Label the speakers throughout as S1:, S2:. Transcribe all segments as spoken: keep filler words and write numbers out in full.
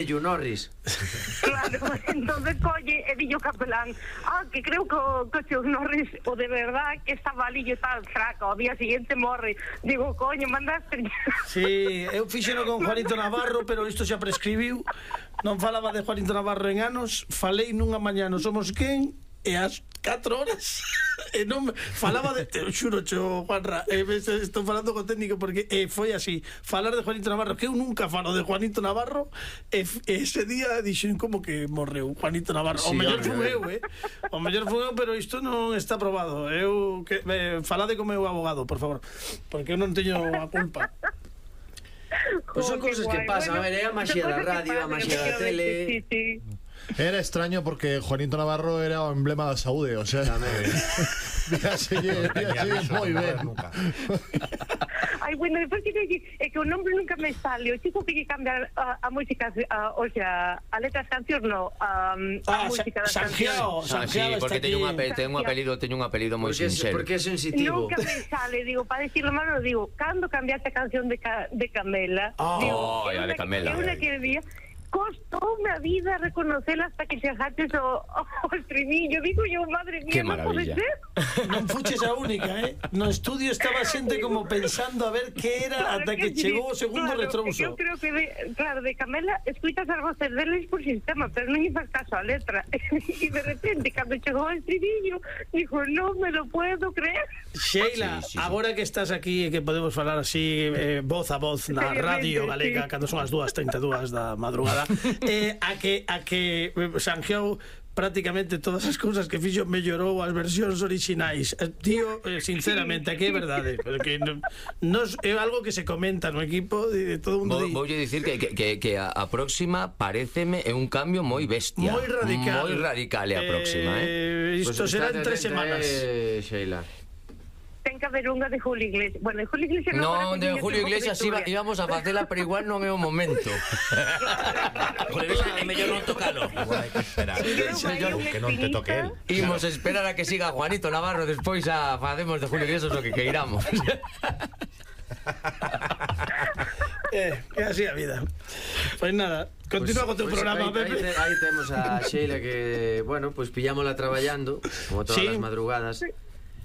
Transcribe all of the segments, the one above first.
S1: Yu Norris.
S2: Claro, entonces colle e dillo capelán, ah, que creo que o Yu Norris o de verdad que estaba ali e tal fraca, o día siguiente morre. Digo, coño, mandaste.
S3: Sí, eu fixeno con Juanito Navarro, pero isto xa prescribiu. Non falaba de Juanito Navarro en anos, falei nunha mañá no Somos Quen e ás catro horas e non falaba de, te xuro cho, Juanra, eh, estou falando co técnico porque eh, foi así, falar de Juanito Navarro, que eu nunca falo de Juanito Navarro, e eh, ese día dixen como que morreu Juanito Navarro. Sí, o mellor fui eu, eh? O mellor fui eu, pero isto non está probado. Eu que eh, falade co meu abogado, por favor, porque eu non teño a culpa.
S1: Pois son cousas que pasan, a ver, é a maxia da radio, a maxia da tele.
S2: Sí, sí.
S4: Era extraño porque Juanito Navarro era o emblema da saúde, o sea, víaselle moi ben.
S2: Ai, bueno, despois que dicir, é que o nombre nunca me sale. O chico que lle cambia a, a música, a, o sea, a letras cancións, no, a, a
S3: ah,
S2: música das
S3: Sanjiao,
S2: cancións.
S1: Sí, porque teño un apelido, teño un apelido, teño un apelido moi sincero. Porque é sensitivo.
S2: Nunca me sale, digo, para decirlo malo, digo, cando cambiaste a canción de, ca, de Camela?
S1: Oh,
S2: digo,
S1: ya de Camela.
S2: É unha que día costoume a vida reconocela hasta que chegaches o, o estribillo. Digo yo, madre mía,
S1: que
S2: non pode ser.
S3: Non fuches a única, eh? No estudio estaba xente como pensando a ver que era,
S2: claro,
S3: ata que, que chegou o segundo
S2: claro,
S3: retrouso.
S2: Eu creo que, de, claro, de Camela escuitas as voces deles por sistema, pero non lle faz caso a letra. E de repente, cando chegou o estribillo, dijo, non me lo puedo creer.
S3: Sheila, sí, sí, sí. Agora que estás aquí e que podemos falar así eh, voz a voz na radio galega, sí, cando son as dúas treinta e dúas da madrugada, eh, a que a que Sanjiao prácticamente todas as cousas que fixo mellorou as versións orixinais. Tío, eh, sinceramente, aquí é verdade, porque non, nos, é algo que se comenta no equipo de todo o mundo.
S1: Vou di... dicir que, que, que a, a próxima pareceme é un cambio moi bestia,
S3: moi radical,
S1: moi radical é a próxima, eh.
S3: Isto pues será en tres semanas,
S1: eh, Sheila.
S2: Ten que haber unha de Julio Iglesias. Bueno, de Julio Iglesias
S1: non, de Julio Iglesias iba, íbamos a facela, pero igual non é o momento.
S5: Julio Iglesias é mellor non tocalo. Igual hai que esperar que non te toque él.
S1: Imos esperar a que siga Juanito Navarro, despois a facemos de Julio Iglesias o que queiramos.
S3: Eh, é así a vida. Pois nada, continúa pues, co teu pues programa,
S1: aí,
S3: Pepe.
S1: Aí, aí temos a Sheila que, bueno, pues pillámola traballando como todas
S3: sí,
S1: as madrugadas.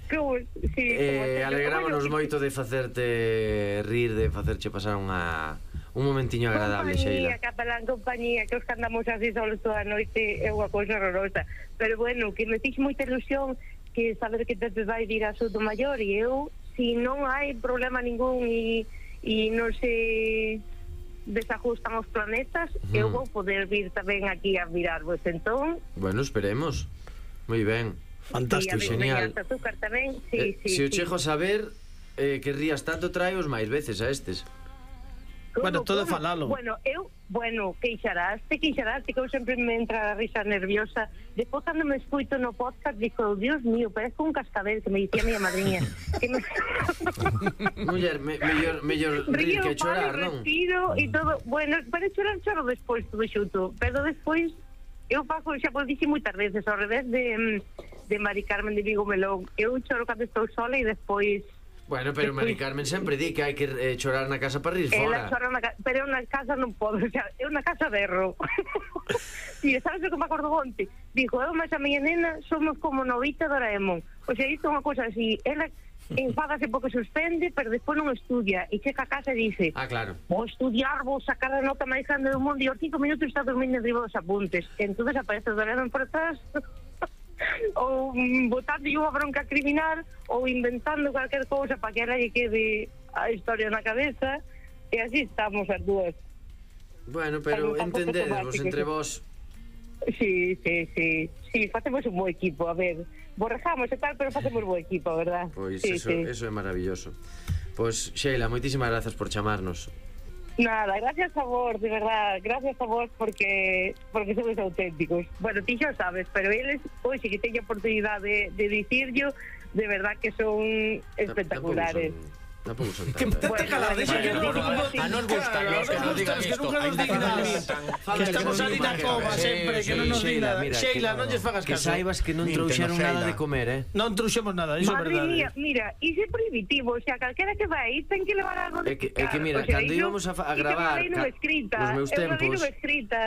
S2: Como, sí,
S1: eh, alegrámonos moito de facerte rir, de facerche pasar unha un momentiño agradable,
S2: compañía,
S1: Sheila.
S2: Capelán, compañía, que os que andamos así solos toda a noite é unha cousa horrorosa. Pero bueno, que me fixe moita ilusión que saber que te vai ir a Sotomayor, e eu, si non hai problema ningún e, e non se desajustan os planetas, uh-huh, eu vou poder vir tamén aquí a mirarvos, entón.
S1: Bueno, esperemos. Moi ben.
S3: Fantástico,
S2: sí,
S1: genial.
S2: Tamén, sí,
S1: eh,
S2: sí,
S1: se o
S2: sí.
S1: chego a saber, eh, que rías tanto, traeos máis veces a estes.
S3: Bueno, todo falalo.
S2: Bueno, eu, bueno, queixarás, te queixarás, que eu sempre me entra a risa nerviosa. Depois, cando me escuito no podcast, digo, Dios mío, parezco un cascabel, que me dicía a miña madriña. Que me...
S1: Muller, me, mellor, mellor rir que chorar, non?
S2: Respiro e todo. Bueno, para chorar, choro despois, todo xuto. Pero despois, eu fago, xa vos dixi moitas veces, ao revés de, de Mari Carmen de Vigo Melón. Eu choro cando estou sola e despois...
S1: Bueno, pero Mari Carmen sempre di que hai que eh, chorar na casa para rir fora.
S2: Na ca... Pero eu na casa non podo, o sea, eu na casa berro. E sabes o que me acordo onte? Dijo, eu máis a miña nena somos como Novita Doraemon. O sea, isto é unha cosa así, ela enfádase porque suspende, pero despois non estudia e chega a casa e dice,
S1: ah, claro,
S2: vou estudiar, vou sacar a nota máis grande do mundo, e aos cinco minutos está dormindo arriba dos apuntes. Entón aparece Doraemon por atrás ou botando unha bronca criminal ou inventando cualquier cousa para que ela lle quede a historia na cabeza, e así estamos as dúas.
S1: Bueno, pero entendedevos entre vós.
S2: Sí, sí, sí, sí, facemos un bo equipo, a ver, borrejamos e tal, pero facemos bo equipo, verdad?
S1: Pois
S2: sí,
S1: eso,
S2: sí.
S1: eso é maravilloso. Pois, Sheila, moitísimas grazas por chamarnos.
S2: Nada, gracias a vos, de verdad, gracias a vos porque porque sois auténticos. Bueno, ti xa sabes, pero eles, hoxe que teño a oportunidade de, de dicirlo, de verdad que son espectaculares.
S1: Son... Tampouco son
S3: Que
S1: tantas.
S3: te calada, deixa que non
S5: A nos gusta
S3: Claro,
S5: que nos digan
S3: que
S5: isto.
S3: nunca nos digan nada. Que estamos ali na cova sempre, que non nos digan nada. Sheila, non lles fagas
S1: Que
S3: caso.
S1: saibas que non
S5: Nintendo,
S1: trouxeron nada
S5: Sheila.
S1: de comer, eh?
S3: Non trouxemos nada, iso é
S2: Madre mía,
S3: verdade.
S2: mira, iso é prohibitivo, o sea, calquera que vai, ten que levar algo de
S1: É que, é que
S2: picar.
S1: mira,
S2: O sea,
S1: cando
S2: iso-
S1: íbamos a, fa- a
S2: iso
S1: gravar
S2: vai nunha
S1: ca-
S2: escrita,
S1: nos meus
S2: eu lo vi
S1: tempos
S2: nunha escrita.